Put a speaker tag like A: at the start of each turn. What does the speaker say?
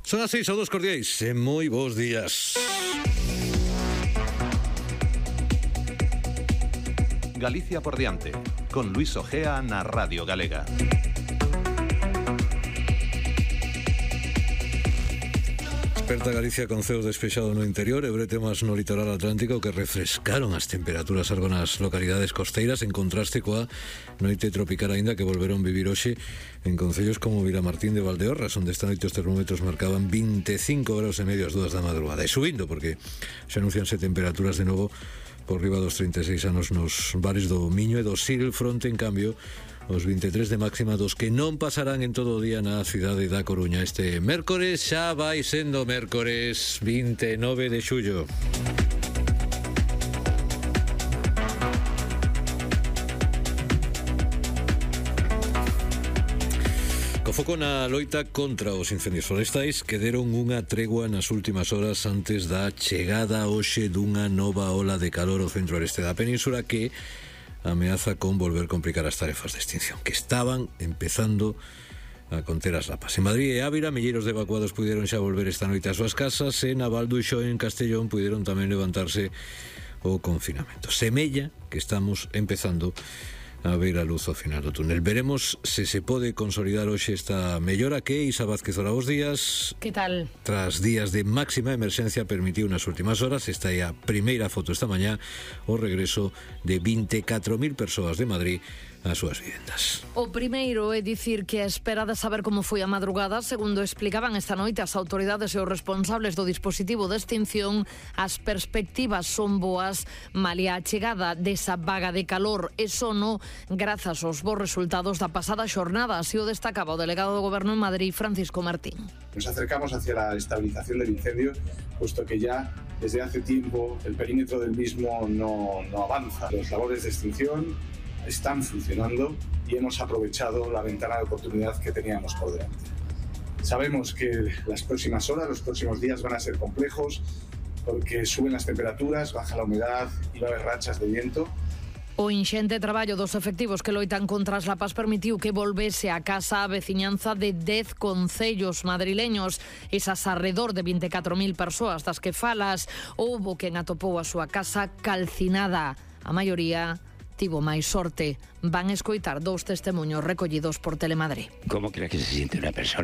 A: Son as 6 ou 2 cordiais e moi bons días.
B: Galicia por diante, con Luis Ojea na Radio Galega.
A: Desperta Galicia con ceos despexado no interior e bretemas no litoral atlántico que refrescaron as temperaturas algo nas localidades costeiras en contraste coa noite tropical aínda que volveron vivir hoxe en concellos como Vilamartín de Valdeorras, onde esta noite os termómetros marcaban 25 graus e medio ás 2 da madrugada e subindo porque se anuncianse temperaturas de novo por riba dos 36 anos nos bares do Miño e do Sil, fronte en cambio os 23 de máxima dos que non pasarán en todo o día na cidade da Coruña. Este mércores xa vai sendo mércores 29 de xullo. Co foco na loita contra os incendios forestais que deron unha tregua nas últimas horas antes da chegada hoxe dunha nova ola de calor ao centro-oeste da península que ameaza con volver complicar as tarefas de extinción que estaban empezando a conter as lapas. En Madrid e Ávila, milleiros de evacuados puderon xa volver esta noite ás súas casas e na Val do Uxó en Castellón puderon tamén levantarse o confinamento. Semella que estamos empezando a ver a luz ao final do túnel. Veremos se se pode consolidar hoxe esta mellora que Isa Vázquez, hola, bos días.
C: Que tal?
A: Tras días de máxima emerxencia permitiu nas últimas horas, esta é a primeira foto esta mañá, o regreso de 24.000 persoas de Madrid ás súas vivendas.
C: O primeiro é dicir que a espera de saber como foi a madrugada, segundo explicaban esta noite as autoridades e os responsables do dispositivo de extinción, as perspectivas son boas, malia a chegada desa vaga de calor e sono grazas aos bons resultados da pasada xornada, así o destacaba o delegado do Goberno en Madrid, Francisco Martín.
D: Nos acercamos hacia la estabilización del incendio, puesto que ya desde hace tiempo el perímetro del mismo no avanza. Las labores de extinción están funcionando y hemos aprovechado la ventana de oportunidad que teníamos por delante. Sabemos que las próximas horas, los próximos días van a ser complejos porque suben las temperaturas, baja la humedad y va a haber rachas de viento.
C: O inxente traballo dos efectivos que loitan contra as lapas permitiu que volvese a casa a veciñanza de 10 concellos madrileños, esas arredor de 24.000 persoas das que falas. Houbo quen atopou a súa casa calcinada. A maioría tivo máis sorte. Van escoitar dous testemuños recollidos por Telemadrid.
E: ¿Cómo crees que se siente una persona